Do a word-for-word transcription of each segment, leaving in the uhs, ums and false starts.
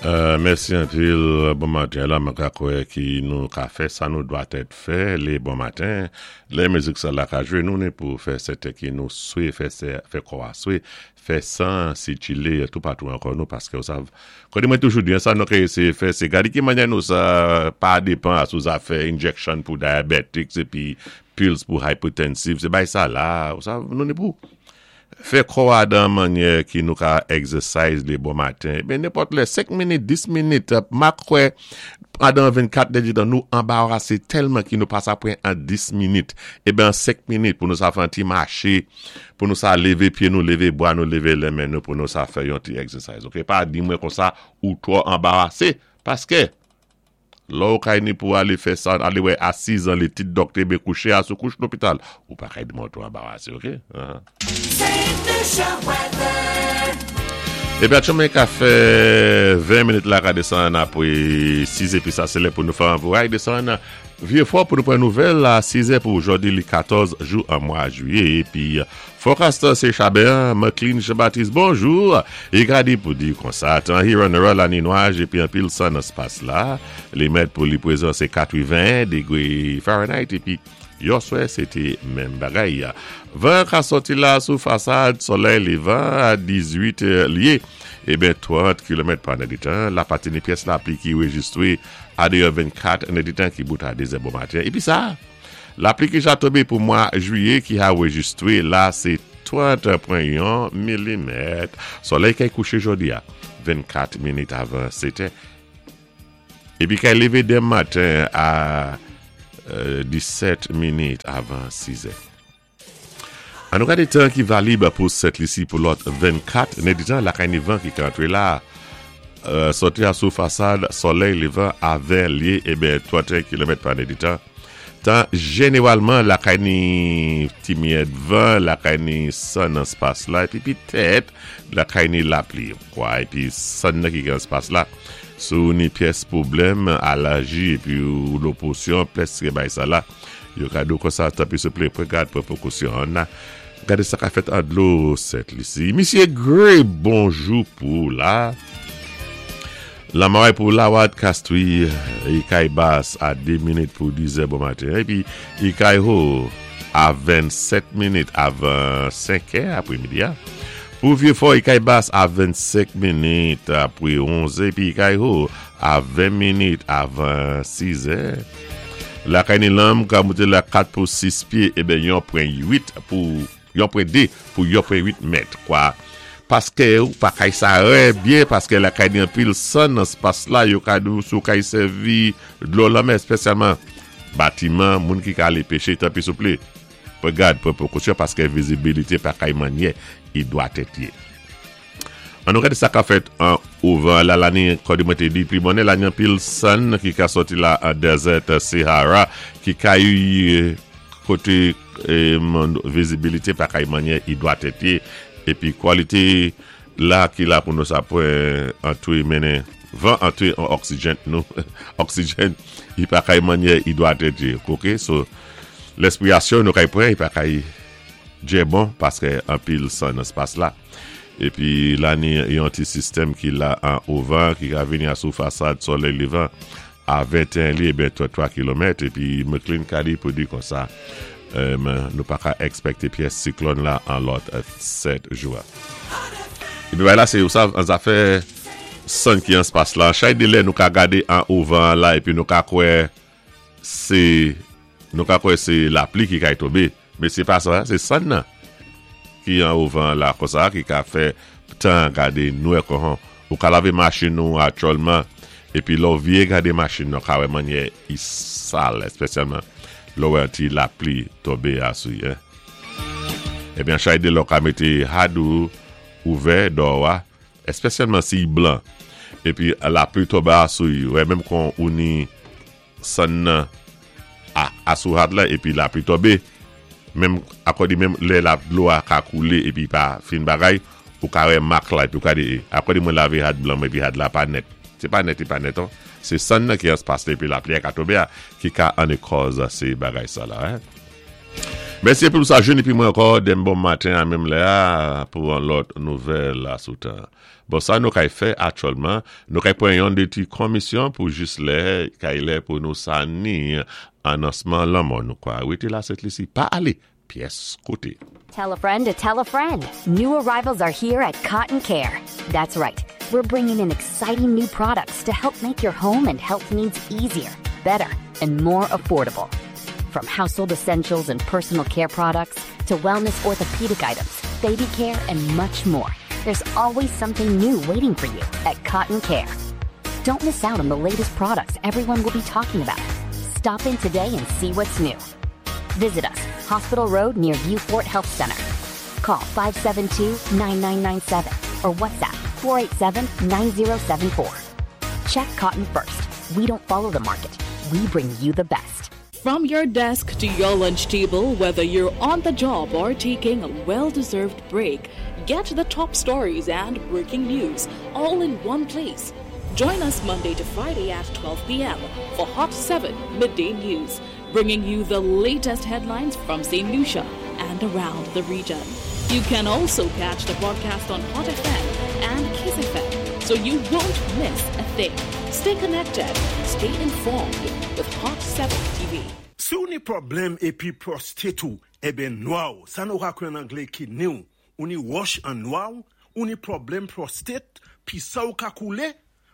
Euh, mèsi anpil, bon maten. La, mwen ka kwè ki nou ka fè sa nou dwa tèt fè lé bon maten. Lè mizik sa la ka jwé nou ni pou fè sèten ki nou swe, fè, fè kò a swe, fè san sikilé toupatou ankò nou, paské ou sav. Kòdi mwen toujou di, sa nou ka éséyé fè, sé gadi ki mannyè nou sa pa dépan sou zafè injection pou diabetics épi pills pou hypertensive, sé bay sa la, ou sav, nou ni pou fè kò a dan mannyè ki nou ka exercise lé bon maten. Ben nenpòt lè, senk minit, dis minit, ma kwè, pandan vennkat èditan nou anbarasé tèlman ki nou pa sa pran an dis minit. É ben senk minit pou nou sa fè an ti maché, pou nou sa lévé pyé nou, lévé bwa nou, lévé lé men nou, pou nou sa fè yon ti exercise. Ok, pa di mwen konsa ou twò anbarasé, paské lò ou kay ni pou alé fè sa, alé wè a sis an lé tit dòktè bé kouché a sou kouch lopital. Ou pa kay di mwen twò anbarasé, ok? Uh-huh. Saint Lucia weather. Épi atchoumen ka fè ven minit la ka désann apwé sis épi sa sé lè pou nou fè an vouray désann Vyé Fò pou nou pran nouvèl a sis è pou jòdi li katòz jou an mwa jwiyé. Épi forecast sé Chabert McLean Jean-Baptiste, bonjou. I ka di pou di konsa, tan Huron la ni nwaj épi anpil san nan spas la. Li mèt pou li pwézan sé katreven dégwé Fahrenheit épi yèswè sé té menm bagay. Van ka sòti la sou fasad solèy lévan a dizuit lyé. É ben trant kilomèt pa èditan. La pati ni pyès lapli ki rejistwé a déyò vennkat èditan ki bout a dé zè bon maten. Épi sa, lapli ki ja tonbé pou mwa jwiyé ki a rejistwé la sé trant pwen yon milimèt. Solèy kay kouché jòdi a vennkat minit avan sèt è. Épi kay lévé denmen maten a euh, disèt minit avan sis è. An nou gade tan ki valib pou Sent Lisi pou lòt vennkat èditan la kay ni van ki ka antré la. Euh, sòti a sou fasad solèy lévan a ven lyé é ben tranteyen kilomèt pa èditan. Tan jénéwalman la kay ni ti miyèt van, la kay ni san nan spas la, épi pitèt la kay ni lapli, kwa, épi san nan ki gen spas la. Sou ni pyès pwoblèm alèji épi ou loposyon, pwèské bay sa la. Yo ka di ou konsa tanpwi souplé, pran gad pou pwékosyon. Na, gade sa ka fèt an dlo Sent Lisi. Misyé Gray, bonjou pou la. La maray pou Lawad Castries, i kay bas a de minit pou diz bon maten. Épi i kay ho a vennsèt minit avan senk è apwémidi. Pou Vyé Fò, i kay bas a vennsenk minit apwé onz épi i kay ho a ven minit avan sis è. La kay ni lanm ka mouté la kat pou sis pyé, é ben yon pwen uit pou yon pwen de pou yon pwen uit mèt, kwa. Paské ou pa kay sa rè byen, paské la kay ni anpil san nan spas la, yo ka dou sou kay sèvi dlo lanmè, espésyalman batiman, moun ki ka alé péché, tanpwi souplé. Pran gad, pran pwékosyon, paské vizibilité pa kay mannyè, i dwa tèt yé. An nou gade sa ka fèt an ouvan la lani, kòdi mwen té di, pli bonnè la ni anpil san ki ka sòti la an desert Sahara, ki kay koté vizibilité pa kay mannyè i dwa tèt yé, épi kwalité la ki la pou nou sa pwen antwé mennen van antwé an oksijèn nou oksijèn i pa kay mannyè i dwa tèt yé. Ok, so lespwiyasyon nou kay pwen i pa kay djè bon paské anpil san nan spas la. Épi la ni yon ti sistèm ki la an ouvan ki ka vini a sou fasad solèy lévan a venteyen lyé ben trantwa kilomèt épi McLean ka di pou di konsa nou pa ka èkspèkté pyès siklòn la an lòt sèt jou. Épi bay la sé ou sav an zafè san ki an spas la. Chay de lè nou ka gade an ouvan la épi nou ka kwè sé nou ka kwè sé lapli ki kay tonbé. Men sé pa sa, sé san nan ki an ouvan la konsa ki ka fè tan gade nwè kon ou ka lavé machin nou atchòlman épi lò vyé gade machin nou ka wè mannyè i sal, espésyalman lò wè an ti lapli tonbé asou ye. Ebyen chay de lò ka mété had ou ouvè dò a, espésyalman si i blan, épi lapli tonbé asou yi, wè menm kon ou ni san nan a, asou had la épi lapli tonbé, menm akòdi menm lè la dlo a ka koulé épi pa fin bagay, ou ka wè mak la épi ou ka di, akòdi mwen lavé had blan mwen épi had la pa nèt. Sé pa nèt, i pa nèt an. Sé san nan ki an spas la épi lapli a ka tonbé a, ki ka ane kòz sé bagay sa la. Hein? Mèsi pou sa jwenn épi mwen ankò denmen bon maten a menm lè pou yon lòt nouvèl la sou tan. Bon, sa nou kay fè aktyèlman, nou kay pran yon dé ti komisyon pou jis lè, kay lè pou nou sa ni anonsman lanmò nou kwa. Wété la Sent Lisi, pa alé, pyès koté. Tell a friend to tell a friend. New arrivals are here at Cotton Care. That's right. We're bringing in exciting new products to help make your home and health needs easier, better, and more affordable. From household essentials and personal care products to wellness orthopedic items, baby care, and much more. There's always something new waiting for you at Cotton Care. Don't miss out on the latest products everyone will be talking about. Stop in today and see what's new. Visit us, Hospital Road near Vieux Fort Health Center. Call five seven two, nine nine nine seven or WhatsApp four eight seven, nine zero seven four. Check Cotton first. We don't follow the market. We bring you the best. From your desk to your lunch table, whether you're on the job or taking a well deserved break, get the top stories and breaking news all in one place. Join us Monday to Friday at twelve p m for Hot seven Midday News, bringing you the latest headlines from Saint Lucia and around the region. You can also catch the broadcast on Hot F M and Kiss F M, so you won't miss a thing. Stay connected, stay informed with Hot seven T V. Si ou ni pwoblèm épi prostate ou, eben nwa ou, sa nou ka kwé an anglé kidney ou, ou ni wòch an nwa ou, ou ni pwoblèm prostate, pi sa ou ka koulé,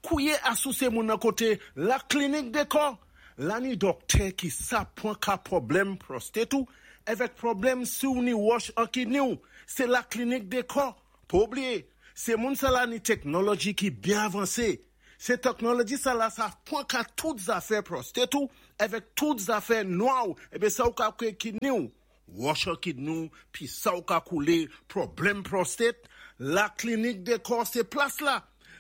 kouwé asou sé moun nan koté La Clinique des Corps. La ni dòktè ki sa pwan ka pwoblèm prostate ou, avèk pwoblèm si ou ni wòch an kidney ou, sé La Clinique des Corps. Pa oubliyé, sé moun sa la ni teknoloji ki byen avansé. Sé teknoloji sa la sa pwan ka tout zafè prostate ou, avèk tout zafè nwa ou, ebe sa ou ka kwé kidney ou. Wòch an kidney ou, pi sa ou ka koulé, pwoblèm prostate, La Clinique des Corps sé plas la.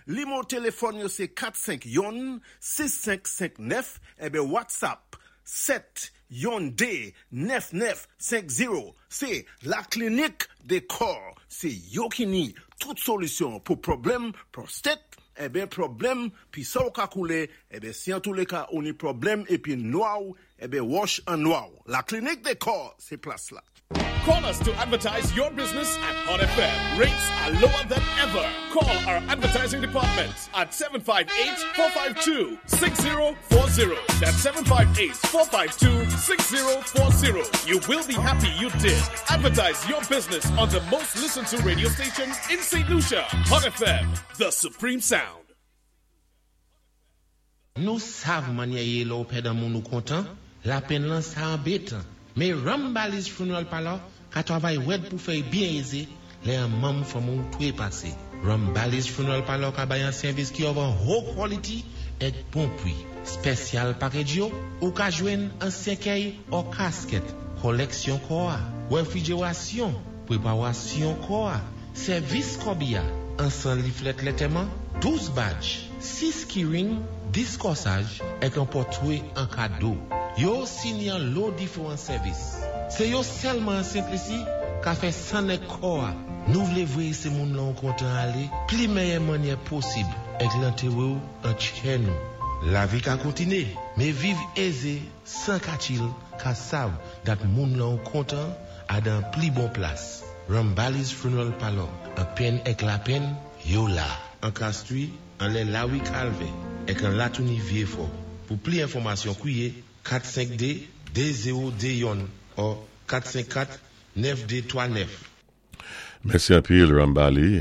Nimewo téléfòn yo sé kat senk youn, sis senk senk nèf, ebe WhatsApp sèt youn dé, nèf nèf senk zewo. Sé La Clinique des Corps. Sé yo ki ni tout solisyon pou pwoblèm prostate, eben pwoblèm pi sa ou ka koulé, eben si an tou lé ka ou ni pwoblèm épi nwa ou, eben wòch an nwa ou. La Clinique des Corps, sé plas la. Call us to advertise your business at Hot F M. Rates are lower than ever. Call our advertising department at seven five eight, four five two, six zero four zero. That's seven five eight, four five two, six zero four zero. You will be happy you did. Advertise your business on the most listened to radio station in Saint Lucia. Hot F M, the supreme sound. Nou sav mannyè yé lè ou pèd an moun ou kontan, lapenn lan sa anbétan. Mé Rambali's Funeral Parlor ka twavay wèd pou fè byen ézé lè an manm fanmi ou twé pasé. Rambali's Funeral Parlor ka bay an sèvis ki of an high quality èk bon pwi. Special package yo, ou ka jwenn an sèkèy ou casket, koleksyon kò a, refrijerasyon, pweparasyon kò a, sèvis kòbiya, an san leaflet lantèman, douz badge, sis keyring, dis kòsaj, èk an pòtwé an kado. Yo sini an lo diferan sèvis. Sé yo sèlman an Sent Lisi ka fè san èk kò a. Nou vlé vwé sé moun lan kontan alé, pli mèyè mannyè posib, èk lantéwé ou an tchè nou. Lavi ka kontiné, mé viv ézé, san katchil, ka sav dat moun lan kontan a dan pli bon plas. Rambali's Funeral Parlor, an penn èk lapenn, yo la. An Castries, an lè Lawi Calvé, èk an Latouni Vieux-Fort. Pou pli enfòmasyon kwié kat senk de de zewo de youn ou kat senk kat nèf de twa nèf. Mèsi anpil, Rambali.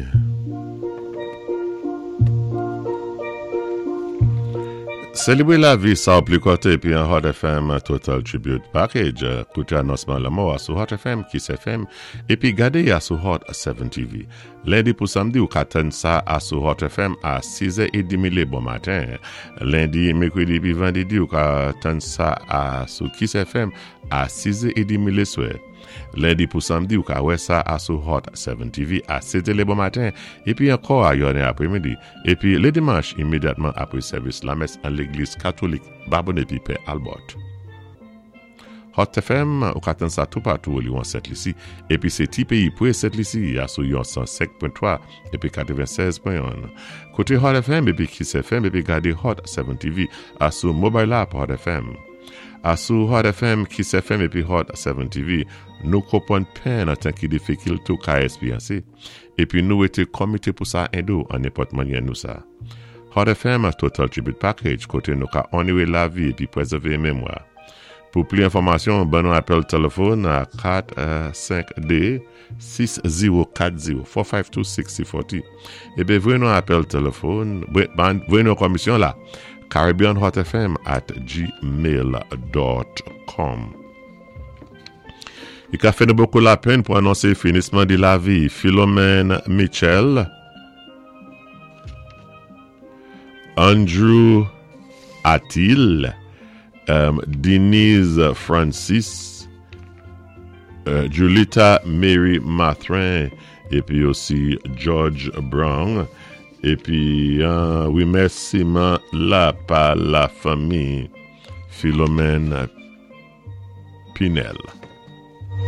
Sélébré lavi sa ou pli kòté épi an Hot F M Total Tribute Package. Kouté anonsman lanmò a sou Hot F M, Kiss F M, épi gadé a sou Hot seven T V. Lendi pou samdi ou ka tann sa a sou Hot F M a siz è edmi bon maten. Lendi, mèkwédi pi vandédi ou ka tann sa a sou Kiss F M a siz è edmi léswè. Lendi pou samdi ou ka wè sa a sou Hot seven T V a sèt bon maten épi ankò a yonnè apwémidi. Épi lé dimanch imédyatman apwé sèvis lamès an légliz katolik Babonneau épi Pè Albert. Hot F M, ou ka tann sa toupatou li an Sent Lisi, épi sé ti péyi pwé Sent Lisi a sou yon san senk pwen twa épi katvensèz pwen youn. Kouté Hot F M épi Kiss F M épi gadé Hot seven T V a sou mobile app Hot F M. A sou Hot F M, Kiss F M épi Hot sept T V, nou konpwann penn an tan ki difikilte ou ka èspéryansé, épi nou été komité pou sa édé ou an nenpòt mannyè nou sa. Hot F M Total Tribute Package, koté nou ka onoré lavi épi pwézèvé mémwa. Pou pli enfòmasyon, ban nou apèl téléfòn a kat senk de sis zewo kat zewo kat senk de sis zewo kat zewo. Épi voyé nou apèl téléfòn, voyé nou komisyon la caribbeanhotfm at gmail dot com. I ka fè nou bokou lapenn pou anonsé finisman di lavi Philomène Mitchell, Andrew Atil, um, Denise Francis, euh, Julita Mary Mathrin, épi osi George Brown, épi euh, wimèsiman la pa lafanmi Philomène Pinel.